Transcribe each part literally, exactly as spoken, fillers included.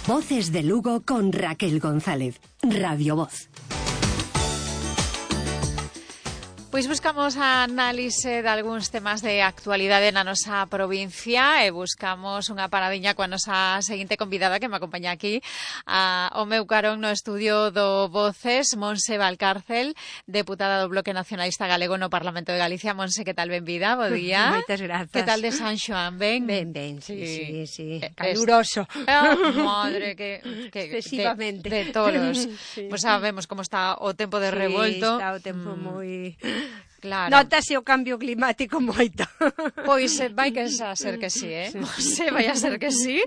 Voces de Lugo con Raquel González. Radio Voz. Pois buscamos a análise de algúns temas de actualidade na nosa provincia e buscamos unha paradiña coa nosa seguinte convidada que me acompaña aquí a, o meu carón no estudio do Voces, Montse Valcárcel, deputada do Bloque Nacionalista Galego no Parlamento de Galicia. Montse, que tal? Benvida, bo día. Moitas grazas. Que tal de San Xoán? Ben? Ben, ben, sí, sí, sí, sí. Eh, Caluroso. Oh, madre, que, que excesivamente. De, de tolos. Sí. Pois pues sabemos como está o tempo de sí, revolto. está o tempo mm. moi... Claro. Notase o cambio climático moito. Pois vai que a ser que sí, eh? Sí. Vai a ser que sí.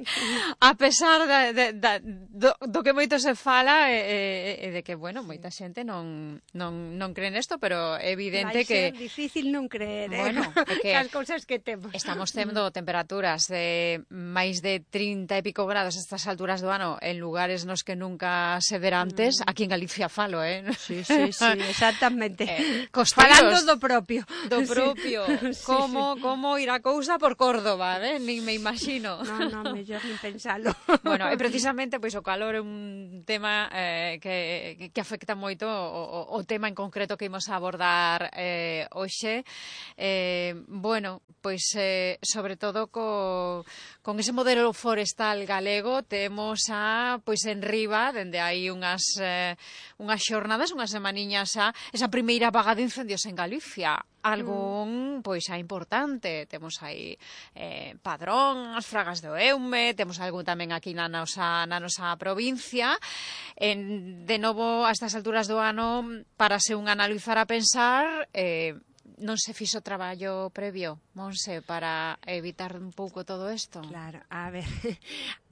A pesar de, de, de, do, do que moito se fala e, e de que, bueno, moita xente non, non, non cree nesto, pero é evidente vai que... Vai ser difícil non creer, bueno, eh? que as cousas que temos. Estamos tendo temperaturas de máis de trinta e pico grados a estas alturas do ano en lugares nos que nunca se ver antes. Mm. Aquí en Galicia falo, eh? Sí, sí, sí, exactamente. Eh, Falando do propio. Do propio. Sí. Como, sí. como ir a cousa por Córdoba, eh? Nin me imagino. No, no, mellor nin pensalo. Bueno, e precisamente pois o calor é un tema eh, que, que afecta moito o, o, o tema en concreto que imos a abordar eh, hoxe. Eh, bueno, pois eh, sobre todo co, con ese modelo forestal galego temos a, pois en riba, dende aí unhas, eh, unhas xornadas, unhas semaniñas a esa primeira vaga de incendios en Galicia. Algún, pois, xa importante. Temos aí eh, Padrón, as Fragas do Eume, temos algún tamén aquí na nosa, na nosa provincia. En, de novo, a estas alturas do ano, para se un analizar a pensar, eh, non se fixo traballo previo, Monse, para evitar un pouco todo isto? Claro, a ver...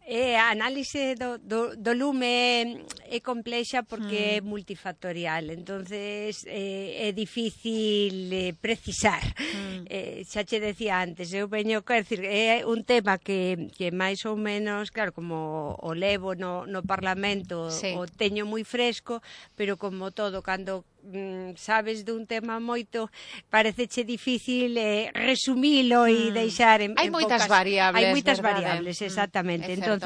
Eh, a análise do, do, do lume é complexa porque mm. é multifactorial, entonces eh, é difícil eh, precisar. Mm. Eh, xa che decía antes, eu veño, quer decir, é un tema que, que máis ou menos, claro, como o levo no, no Parlamento, sí. O teño moi fresco, pero como todo, cando mm, sabes dun tema moito, pareceche difícil eh, resumilo mm. e deixar en, hai en moitas pocas... variables, hai moitas verdade? variables, exactamente. Mm, entonces,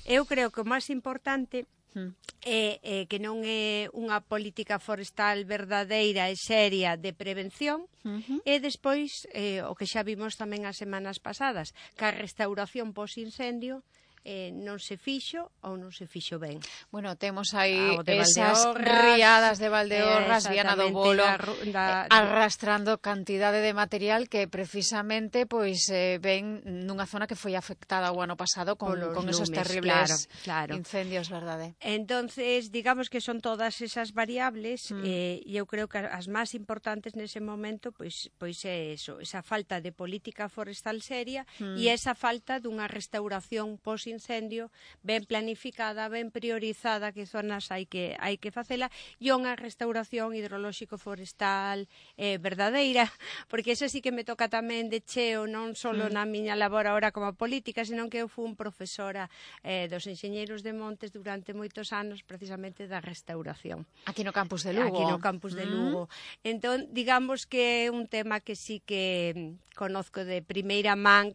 eu creo que o máis importante mm. é, é que non é unha política forestal verdadeira e seria de prevención, uh-huh. E despois, eh, o que xa vimos tamén as semanas pasadas, que a restauración pos-incendio Eh, non se fixo ou non se fixo ben. Bueno, temos aí ah, esas riadas de Valdeorras, eh, Viana do Bolo, da, da, eh, arrastrando cantidade de material que precisamente pois eh, ven nunha zona que foi afectada o ano pasado con, con lumes, esos terribles claro, claro. incendios, verdade? Entonces, digamos que son todas esas variables mm. eh, e eu creo que as máis importantes nese momento pois, pois é eso, esa falta de política forestal seria mm. e esa falta dunha restauración pos incendio ben planificada, ben priorizada, que zonas hai que hai que facela, e unha restauración hidrolóxico forestal eh, verdadeira, porque eso sí que me toca tamén de cheo, non só mm. na miña labor ahora como política, senón que eu fui profesora eh, dos enxeñeiros de montes durante moitos anos precisamente da restauración. Aquí no campus de Lugo. Aquí no campus de Lugo. Mm. Entón, digamos que é un tema que sí que conozco de primeira man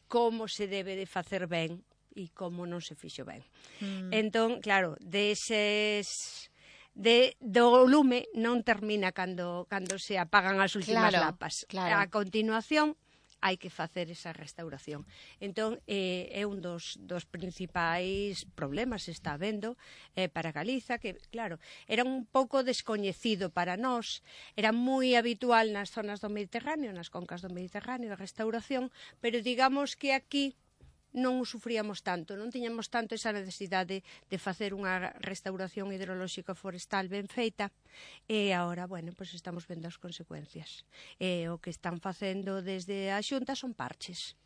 como se debe de facer ben e como non se fixo ben. Mm. Entón, claro, deses de do lume non termina cando cando se apagan as últimas claro, lapas. Claro. A continuación hai que facer esa restauración. Entón, eh, é un dos, dos principais problemas que está habendo eh, para Galiza, que, claro, era un pouco descoñecido para nós, era moi habitual nas zonas do Mediterráneo, nas concas do Mediterráneo, a restauración, pero digamos que aquí non o sufríamos tanto, non tiñamos tanto esa necesidade de facer unha restauración hidrolóxica forestal ben feita, e agora, bueno, pois estamos vendo as consecuencias. E o que están facendo desde a Xunta son parches,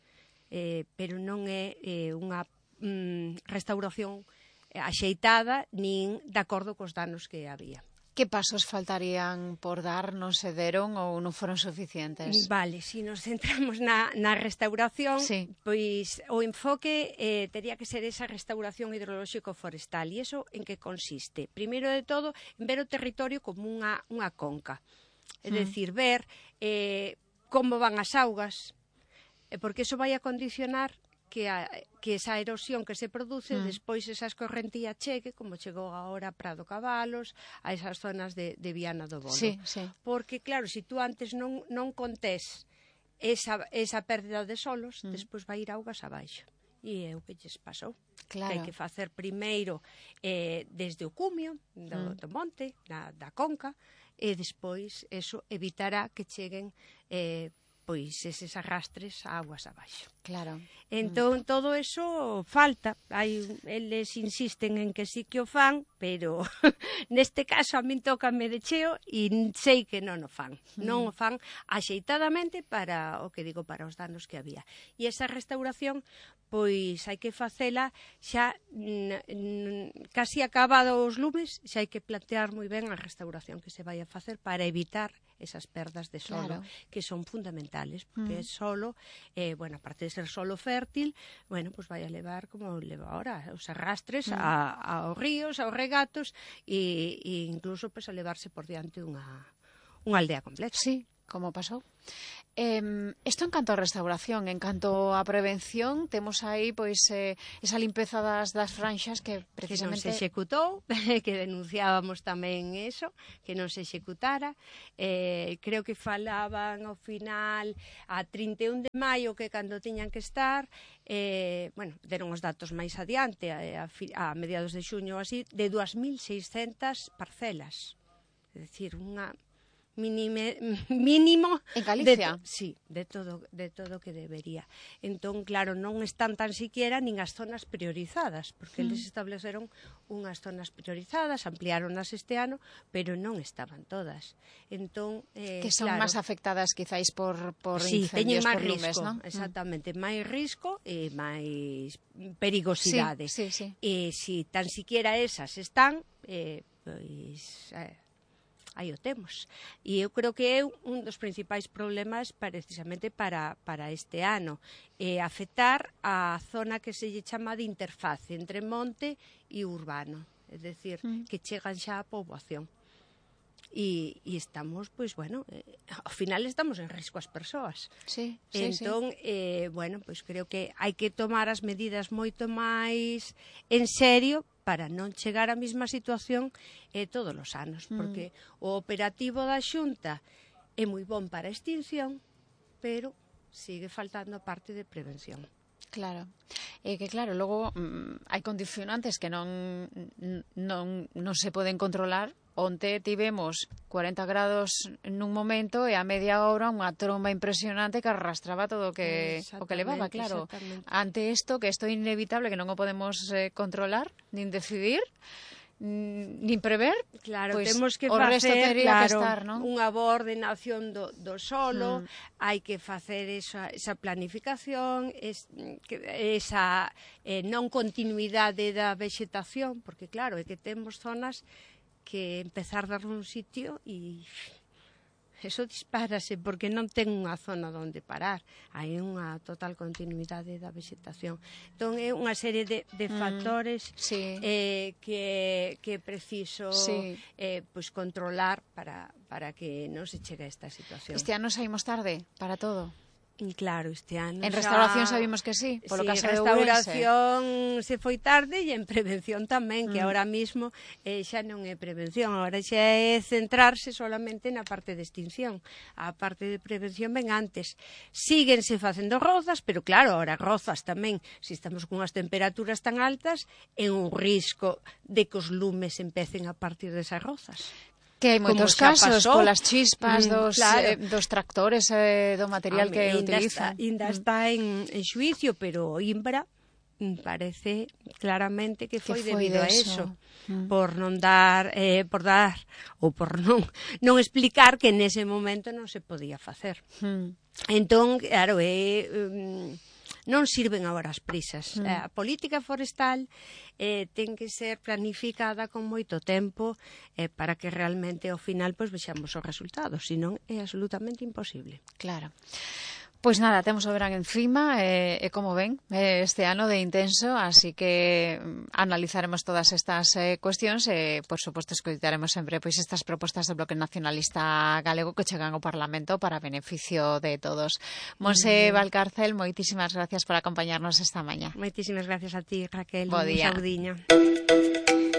eh, pero non é eh, unha mm, restauración axeitada nin de acordo cos danos que había. Que pasos faltarían por dar, non se deron ou non foron suficientes? Vale, se si nos centramos na, na restauración, sí. Pois o enfoque eh, tería que ser esa restauración hidrolóxico forestal. E iso en que consiste? Primeiro de todo, en ver o territorio como unha, unha conca. É mm. dicir, ver eh, como van as augas, porque iso vai a condicionar que, a, que esa erosión que se produce, Mm. despois esa escorrentía chegue, como chegou agora a Prado Cabalos, a esas zonas de, de Viana do Bolo. Sí, sí. Porque, claro, se si tú antes non, non contés esa, esa pérdida de solos, Mm. despois vai ir augas abaixo. E é o que lles pasou. Claro. Que hai que facer primeiro eh, desde o cumio do, Mm. do monte, da, da conca, e despois eso evitará que cheguen eh, pois eses arrastres a aguas abaixo. Claro. Entón, mm. todo eso falta. Hai, eles insisten en que sí que o fan, pero neste caso a min tócame de cheo e sei que non o fan. Mm. Non o fan axeitadamente para, o que digo, para os danos que había. E esa restauración, pois hai que facela xa n, n, casi acabado os lumes, xa hai que plantear moi ben a restauración que se vai a facer para evitar esas perdas de solo, claro. que son fundamentales, porque Mm. solo, eh, bueno, aparte de ser solo fértil, bueno, pues vai a levar, como leva ahora, os arrastres mm. a, aos ríos, aos regatos, e, e incluso pues, a levarse por diante unha, unha aldea completa. Sí, como pasou. Eh, isto en canto a restauración, en canto a prevención, temos aí pois eh, esa limpeza das, das franxas que precisamente... Que non se executou, que denunciábamos tamén eso, que non se executara. Eh, creo que falaban ao final a trinta e un de maio que cando tiñan que estar, eh, bueno, deron os datos máis adiante, a, a, a mediados de xuño así, de dúas mil seiscentas parcelas. É dicir, unha... Minime, mínimo en Galicia. De, sí, de todo de todo que debería. Entón, claro, non están tan siquiera nin as zonas priorizadas, porque mm. eles estableceron unhas zonas priorizadas, ampliáronas este ano, pero non estaban todas. Entón, eh, que son claro, máis afectadas quizáis por por sí, incendios, teñen máis por lumes, risco, ¿no? exactamente, mm. máis risco e máis perigosidade. Sí, sí, sí. E si tan siquiera esas están, eh, pois eh, aí o temos. E eu creo que é un dos principais problemas precisamente para, para este ano, é afectar a zona que se lle chama de interface entre monte e urbano, é dicir, mm. que chegan xa a poboación. E, e estamos, pois, bueno, eh, ao final estamos en risco as persoas. Sí, sí, entón, sí. Eh, bueno, pois creo que hai que tomar as medidas moito máis en serio para non chegar á mesma situación eh, todos os anos, Mm. porque o operativo da Xunta é moi bon para a extinción, pero sigue faltando a parte de prevención. Claro. É que claro, logo mm, hai condicionantes que non non non se poden controlar. Onte tivemos cuarenta grados nun momento e a media hora unha tromba impresionante que arrastraba todo o que o que levaba, claro. Ante isto, que isto é inevitable, que non o podemos eh, controlar, nin decidir, nin prever, claro, pues, temos que o resto facer, tería claro, que estar, ¿no? Unha boa ordenación do, do solo, mm. hai que facer esa, esa planificación, es, que, esa eh, non continuidade da vexetación, porque claro, é que temos zonas que empezar a dar un sitio e eso dispárase porque non ten unha zona onde parar, hai unha total continuidade da vegetación. Entón é unha serie de, de factores mm, sí. eh, que, que é preciso sí. eh, pues controlar para, para que non se chegue a esta situación. Este ano saímos tarde para todo. E claro, este ano en xa... restauración sabemos que sí, polo sí, caso de restauración se foi tarde e en prevención tamén, que mm. ahora mismo eh, xa non é prevención, agora xa é centrarse solamente na parte de extinción. A parte de prevención ven antes. Síguense facendo rozas, pero claro, ahora rozas tamén, se estamos con as temperaturas tan altas, é un risco de que os lumes empecen a partir desas rozas. Que hai moitos casos, polas chispas dos, claro. eh, dos tractores, eh, do material Home, que ainda utilizan. Está, ainda mm. está en, en xuicio, pero Imbra parece claramente que foi, que foi debido de a eso, mm. por non dar, eh, por dar, ou por non, non explicar que nese momento non se podía facer. Mm. Entón, claro, é... Um, non sirven agora as prisas. Mm. A política forestal eh, ten que ser planificada con moito tempo eh, para que realmente ao final pues, vexamos os resultados, senón é absolutamente imposible. Claro. Pois nada, temos o verán encima e, e como ven, este ano de intenso, así que analizaremos todas estas eh, cuestións e, por suposto, escoitaremos sempre pois estas propostas do Bloque Nacionalista Galego que chegan ao Parlamento para beneficio de todos. Monse mm. Valcárcel, moitísimas gracias por acompañarnos esta mañá. Moitísimas gracias a ti, Raquel. Bo día. Un saudiño.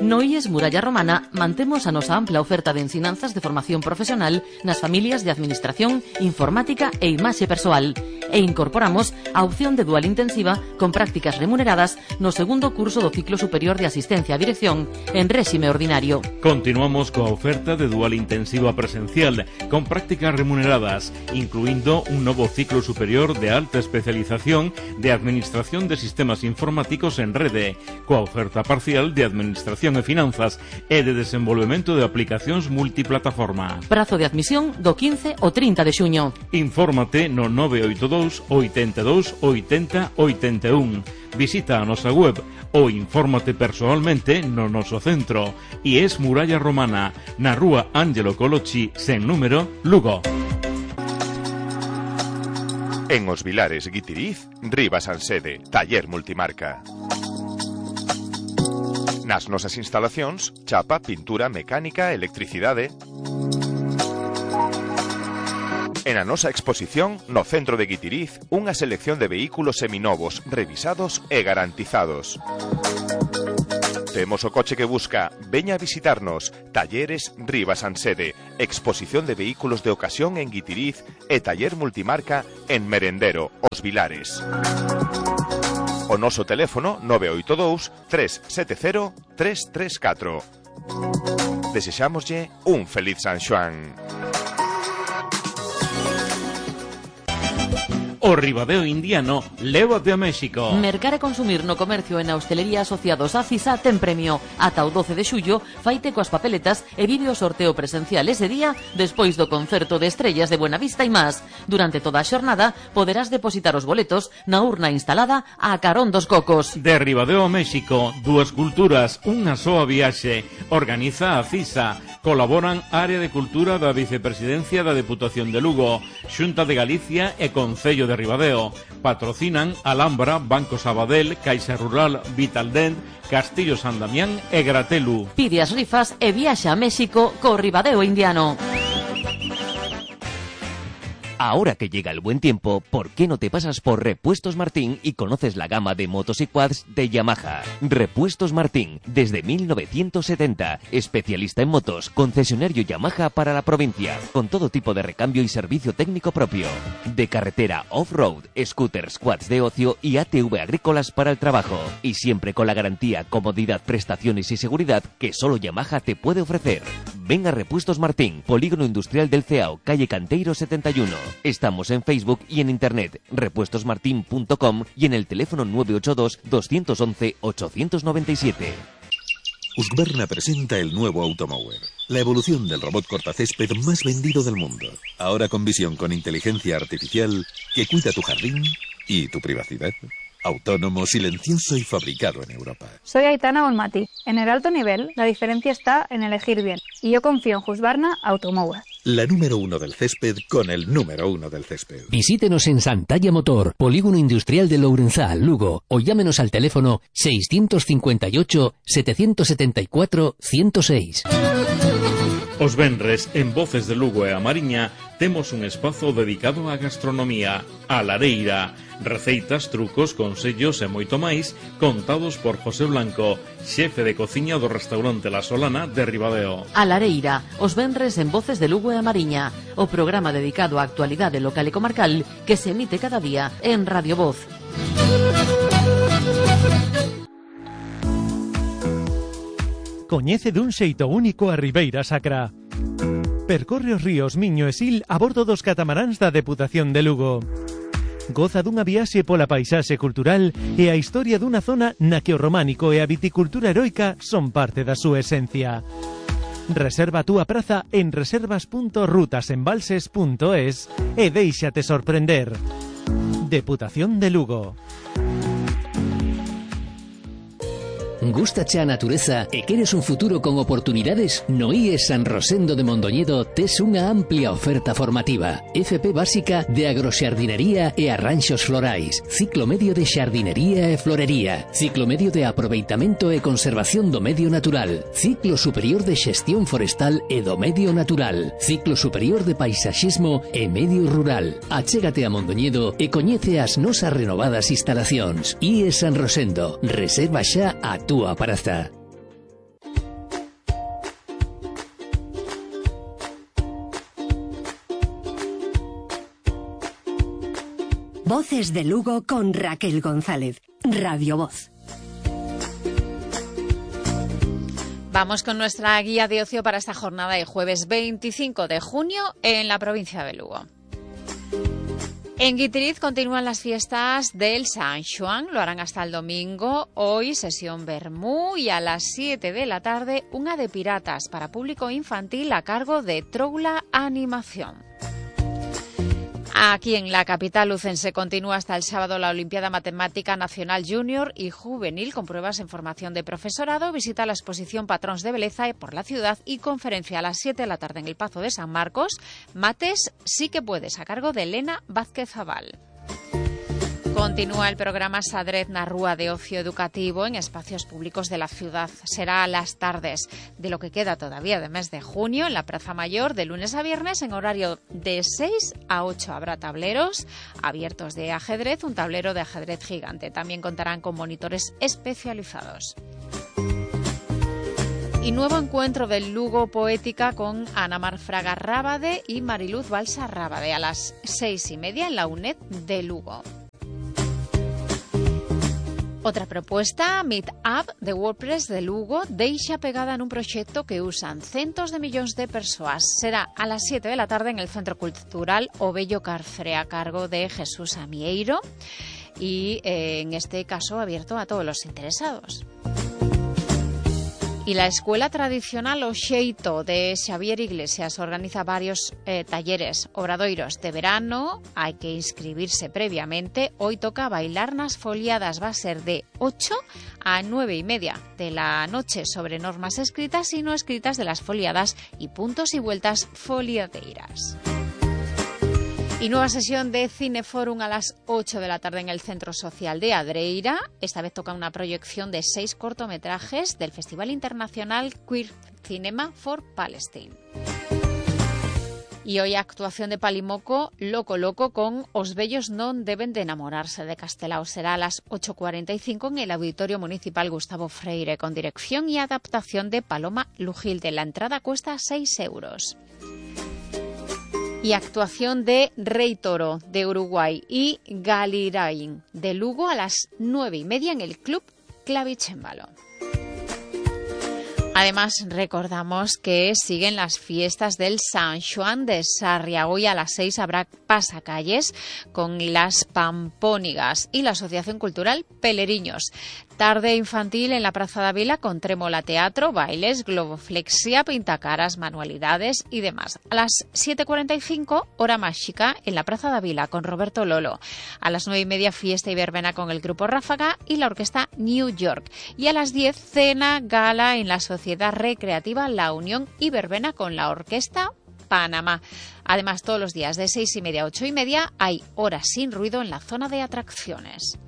No I E S Muralla Romana mantemos a nosa ampla oferta de ensinanzas de formación profesional nas familias de Administración, Informática e Imaxe Persoal e incorporamos a opción de dual intensiva con prácticas remuneradas no segundo curso do ciclo superior de asistencia a dirección en réxime ordinario. Continuamos coa oferta de dual intensiva presencial con prácticas remuneradas, incluindo un novo ciclo superior de alta especialización de Administración de Sistemas Informáticos en Rede, coa oferta parcial de Administración e Finanzas e de desenvolvemento de aplicacións multiplataforma. Prazo de admisión do quince ao trinta de xuño. Infórmate no nove oito dous, oitenta e dous, oitenta, oitenta e un. Visita a nosa web ou infórmate persoalmente no noso centro. I E S Muralla Romana, na rúa Ángelo Colochi, sen número, Lugo. En Os Vilares, Guitiriz, Rivas Ansede, Taller Multimarca. Nas nosas instalacións, chapa, pintura, mecánica, electricidade. En a nosa exposición, no centro de Guitiriz, unha selección de vehículos seminovos, revisados e garantizados. Temos o coche que busca, veña a visitarnos. Talleres Rivas Ansede, exposición de vehículos de ocasión en Guitiriz e taller multimarca en Merendero, Os Vilares. O noso teléfono nove oito dous, tres sete cero, tres tres catro. Desexámoslle un feliz San Xoán. O Ribadeo Indiano, lévate a México. Mercar e consumir no comercio e na hostelería asociados a CISA ten premio. Ata o doce de xullo, faite coas papeletas e vive o sorteo presencial ese día despois do concerto de estrellas de Buenavista e más. Durante toda a xornada poderás depositar os boletos na urna instalada a carón dos cocos. De Ribadeo a México, dúas culturas, unha soa viaxe. Organiza a CISA. Colaboran Área de Cultura da Vicepresidencia da Deputación de Lugo, Xunta de Galicia e Concello de Ribadeo. Patrocinan Alhambra, Banco Sabadell, Caixa Rural, Vitaldent, Castillo San Damián e Gratelu. Pide as rifas e viaxa a México co Ribadeo Indiano. Ahora que llega el buen tiempo, ¿por qué no te pasas por Repuestos Martín y conoces la gama de motos y quads de Yamaha? Repuestos Martín, desde mil novecientos setenta, especialista en motos, concesionario Yamaha para la provincia, con todo tipo de recambio y servicio técnico propio. De carretera, off-road, scooters, quads de ocio y A T V agrícolas para el trabajo. Y siempre con la garantía, comodidad, prestaciones y seguridad que solo Yamaha te puede ofrecer. Ven a Repuestos Martín, Polígono Industrial del Ceao, calle Canteiro setenta y uno. Estamos en Facebook y en internet, repuestos martin punto com y en el teléfono nueve ocho dos, dos uno uno, ocho nueve siete. Husqvarna presenta el nuevo Automower, la evolución del robot cortacésped más vendido del mundo. Ahora con visión con inteligencia artificial que cuida tu jardín y tu privacidad. Autónomo, silencioso y fabricado en Europa. Soy Aitana Bonmati. En el alto nivel, la diferencia está en elegir bien. Y yo confío en Husqvarna Automower. La número uno del césped con el número uno del césped. Visítenos en Santalla Motor, Polígono Industrial de Lourenzá, Lugo, o llámenos al teléfono seiscientos cincuenta y ocho, setecientos setenta y cuatro, ciento seis. Os venres, en Voces de Lugo e a Mariña, temos un espazo dedicado á gastronomía, a lareira, receitas, trucos, consellos e moito máis, contados por José Blanco, xefe de cociña do restaurante La Solana de Ribadeo. A lareira, os venres en Voces de Lugo e a Mariña, o programa dedicado á actualidade local e comarcal que se emite cada día en Radio Voz. Coñece dun xeito único a Ribeira Sacra. Percorre os ríos Miño e Sil a bordo dos catamaráns da Deputación de Lugo. Goza dunha viaxe pola paisaxe cultural e a historia dunha zona na que o románico e a viticultura heroica son parte da súa esencia. Reserva a túa praza en reservas punto rutasembalses punto es e déixate sorprender. Deputación de Lugo. Gústache a natureza e queres un futuro con oportunidades? No I E S San Rosendo de Mondoñedo tes unha amplia oferta formativa. F P básica de agroxardinería e arranxos florais, ciclo medio de xardinería e florería, ciclo medio de aproveitamento e conservación do medio natural, ciclo superior de xestión forestal e do medio natural, ciclo superior de paisaxismo e medio rural. Achégate a Mondoñedo e coñece as nosas renovadas instalacións. I E S San Rosendo, reserva xa a túa praza. Voces de Lugo con Raquel González. Radio Voz. Vamos con nuestra guía de ocio para esta jornada de jueves veinticinco de junio en la provincia de Lugo. En Guitiriz continúan las fiestas del San Xoán, lo harán hasta el domingo. Hoy sesión vermú y a las siete de la tarde una de piratas para público infantil a cargo de Troula Animación. Aquí en la capital lucense continúa hasta el sábado la Olimpiada Matemática Nacional Junior y Juvenil con pruebas en formación de profesorado. Visita la exposición Patrons de Beleza por la ciudad y conferencia a las siete de la tarde en el Pazo de San Marcos. Mates sí que puedes, a cargo de Elena Vázquez Zabal. Continúa el programa Sadrez na Rúa de Ocio Educativo en espacios públicos de la ciudad. Será a las tardes de lo que queda todavía de mes de junio en la Plaza Mayor de lunes a viernes en horario de seis a ocho. Habrá tableros abiertos de ajedrez, un tablero de ajedrez gigante. También contarán con monitores especializados. Y nuevo encuentro del Lugo Poética con Ana Mar Fraga Rábade y Mariluz Balsa Rábade a las seis y media en la UNED de Lugo. Otra propuesta, Meetup de WordPress de Lugo, deixa pegada en un proxecto que usan centos de millóns de persoas. Será a las siete de la tarde en el Centro Cultural O Bello Carfre, a cargo de Jesús Amieiro y eh, en este caso abierto a todos los interesados. Y la Escuela Tradicional O Xeito de Xavier Iglesias organiza varios eh, talleres, obradoiros de verano. Hay que inscribirse previamente. Hoy toca bailar nas foliadas. Va a ser de ocho a nueve y media de la noche sobre normas escritas y no escritas de las foliadas y puntos y vueltas foliadeiras. Y nueva sesión de Cineforum a las ocho de la tarde en el Centro Social de Adreira. Esta vez toca una proyección de seis cortometrajes del Festival Internacional Queer Cinema for Palestine. Y hoy actuación de Palimoco, Loco Loco con Os Bellos non deben de enamorarse de Castelao. Será a las ocho cuarenta y cinco en el Auditorio Municipal Gustavo Freire con dirección y adaptación de Paloma Lujilde. La entrada cuesta seis euros. Y actuación de Rey Toro de Uruguay y Galirain de Lugo a las nueve y media en el Club Clavicémbalo. Además, recordamos que siguen las fiestas del San Xoán de Sarria. Hoy a las seis habrá pasacalles con las Pampónigas y la Asociación Cultural Peleriños. Tarde infantil en la Praza de Vila con trémola teatro, bailes, globoflexia, pintacaras, manualidades y demás. A las siete cuarenta y cinco, hora mágica en la Praza de Vila con Roberto Lolo. A las nueve y media, fiesta y verbena con el Grupo Ráfaga y la Orquesta New York. Y a las diez, cena, gala en la Sociedad Recreativa La Unión y verbena con la Orquesta Panamá. Además, todos los días de seis y media a ocho y media hay horas sin ruido en la zona de atracciones.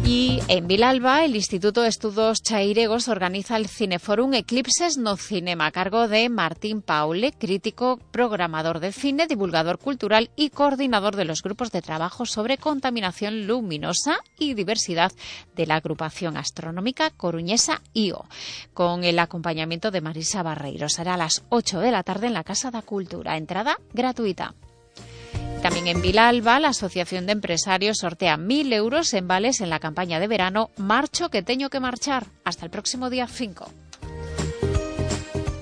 Y en Vilalba, el Instituto de Estudos Chairegos organiza el Cineforum Eclipses no Cinema, a cargo de Martín Paule, crítico, programador de cine, divulgador cultural y coordinador de los grupos de trabajo sobre contaminación luminosa y diversidad de la agrupación astronómica coruñesa I O, con el acompañamiento de Marisa Barreiro. Será a las ocho de la tarde en la Casa da Cultura. Entrada gratuita. También en Vilalba, la Asociación de Empresarios sortea mil euros en vales en la campaña de verano Marcho que teño que marchar, hasta el próximo día cinco.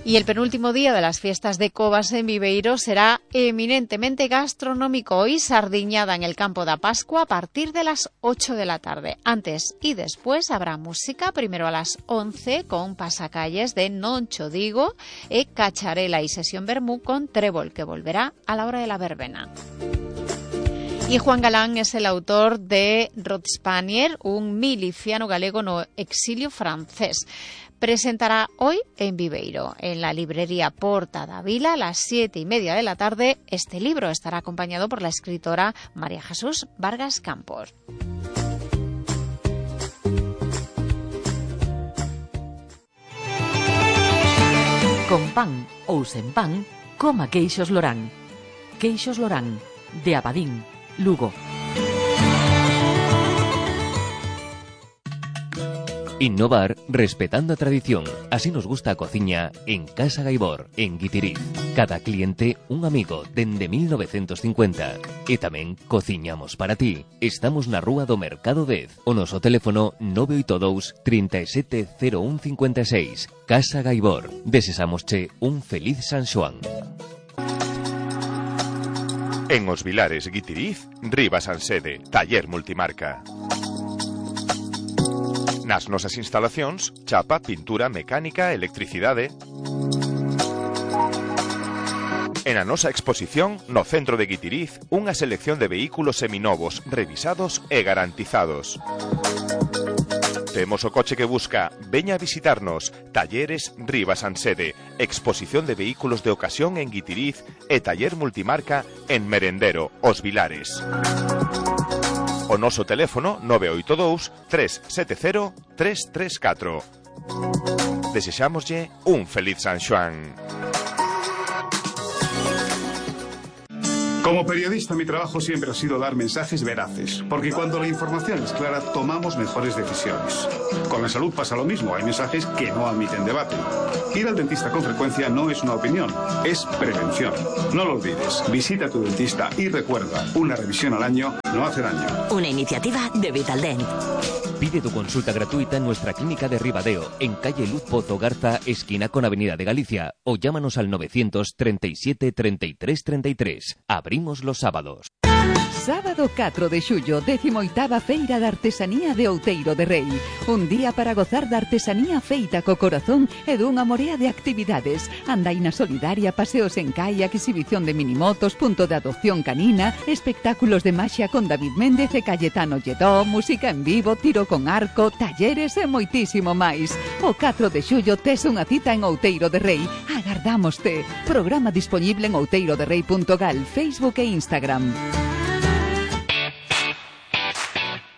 Y el penúltimo día de las fiestas de Covas en Viveiro será eminentemente gastronómico. Hoy sardiñada en el Campo da Pascua a partir de las ocho de la tarde. Antes y después habrá música, primero a las once con pasacalles de Non Cho Digo e Cacharela y sesión vermú con Trébol, que volverá a la hora de la verbena. E Juan Galán es el autor de Rod Spanier, un miliciano galego no exilio francés. Presentará hoy en Viveiro, en la librería Porta da Vila, a las siete y media de la tarde. Este libro estará acompañado por la escritora María Jesús Vargas Campos. Con pan ou sen pan, coma queixos Lorán. Queixos Lorán, de Abadín, Lugo. Innovar respetando a tradición. Así nos gusta a cociña en Casa Gaibor, en Guitiriz. Cada cliente un amigo dende mil novecientos cincuenta. E tamén cociñamos para ti. Estamos na rúa do Mercado dez. O noso teléfono nove oito dous, trinta e sete, cero un cincuenta e seis. Casa Gaibor. Desesámosche un feliz San Xoán. En Os Vilares, Guitiriz, Rivas Ansede, Taller Multimarca. Nas nosas instalacións, chapa, pintura, mecánica, electricidade. En a nosa exposición, no centro de Guitiriz, unha selección de vehículos seminovos, revisados e garantizados. Temos o coche que busca, veña a visitarnos. Talleres Rivas Ansede, exposición de vehículos de ocasión en Guitiriz e taller multimarca en Merendero, Os Vilares. O noso teléfono nove oito dous, tres sete cero, tres tres catro. Desexámoslle un feliz San Xoán. Como periodista, mi trabajo siempre ha sido dar mensajes veraces, porque cuando la información es clara, tomamos mejores decisiones. Con la salud pasa lo mismo, hay mensajes que no admiten debate. Ir al dentista con frecuencia no es una opinión, es prevención. No lo olvides, visita a tu dentista y recuerda, una revisión al año no hace daño. Una iniciativa de Vitaldent. Pide tu consulta gratuita en nuestra clínica de Ribadeo, en calle Luz Pozo Garza, esquina con Avenida de Galicia, o llámanos al novecientos treinta y siete, treinta y tres, treinta y tres. Abrimos los sábados. Sábado catro de xullo, décimo oitava Feira de Artesanía de Outeiro de Rei. Un día para gozar da artesanía feita co corazón e dunha morea de actividades. Andaina solidaria, paseos en kayak, exhibición de minimotos, punto de adopción canina, espectáculos de maxia con David Méndez e Cayetano Lledó, música en vivo, tiro con arco, talleres e moitísimo máis. O catro de xullo tes unha cita en Outeiro de Rei. Agardámoste. Programa disponible en outeiroderrei punto gal, Facebook e Instagram.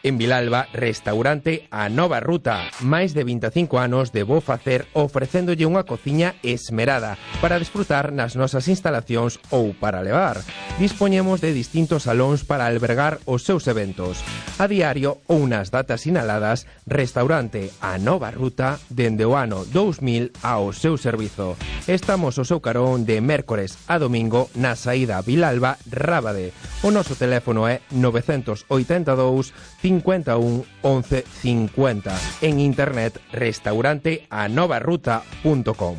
En Vilalba, restaurante A Nova Ruta. Máis de vinte e cinco anos de bo facer ofrecéndolle unha cociña esmerada para desfrutar nas nosas instalacións ou para levar. Dispoñemos de distintos salóns para albergar os seus eventos. A diario ou nas datas sinaladas, restaurante A Nova Ruta dende o ano dous mil ao seu servizo. Estamos ao seu carón de mércores a domingo na saída Vilalba-Rábade. O noso teléfono é novecientos oitenta e dous, cincuenta e un, once cincuenta. En internet, restaurante a nova ruta punto com.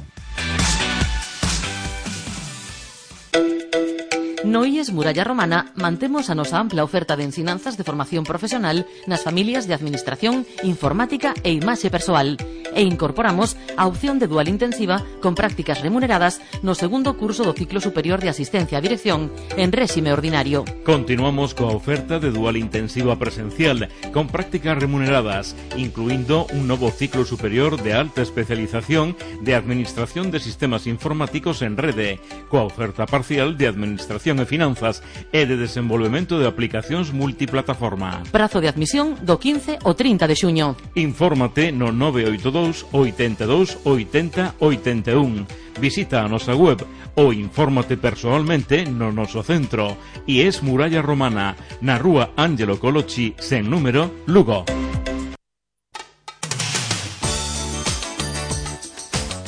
No I E S Muralla Romana mantemos a nosa ampla oferta de ensinanzas de formación profesional nas familias de administración, informática e imaxe persoal e incorporamos a opción de dual intensiva con prácticas remuneradas no segundo curso do ciclo superior de asistencia a dirección en réxime ordinario. Continuamos coa oferta de dual intensiva presencial con prácticas remuneradas, incluindo un novo ciclo superior de alta especialización de administración de sistemas informáticos en rede, coa oferta parcial de administración e finanzas e de desenvolvemento de aplicacións multiplataforma. Prazo de admisión do quince ao trinta de xuño. Infórmate no nove oito dous, oitenta e dous, oitenta, oitenta e un. Visita a nosa web ou infórmate persoalmente no noso centro. I E S Muralla Romana, na rúa Ángelo Colocci, sen número, Lugo.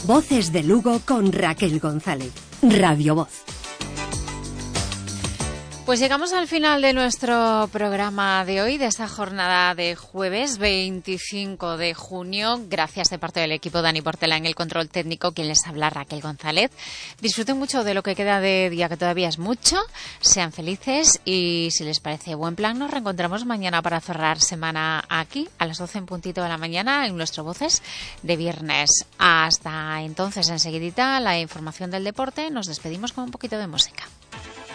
Voces de Lugo con Raquel González. Radio Voz. Pues llegamos al final de nuestro programa de hoy, de esta jornada de jueves veinticinco de junio. Gracias de parte del equipo, Dani Portela en el control técnico, quien les habla, Raquel González. Disfruten mucho de lo que queda de día, que todavía es mucho. Sean felices y, si les parece buen plan, nos reencontramos mañana para cerrar semana aquí, a las doce en puntito de la mañana, en nuestro Voces de viernes. Hasta entonces, enseguidita, la información del deporte. Nos despedimos con un poquito de música.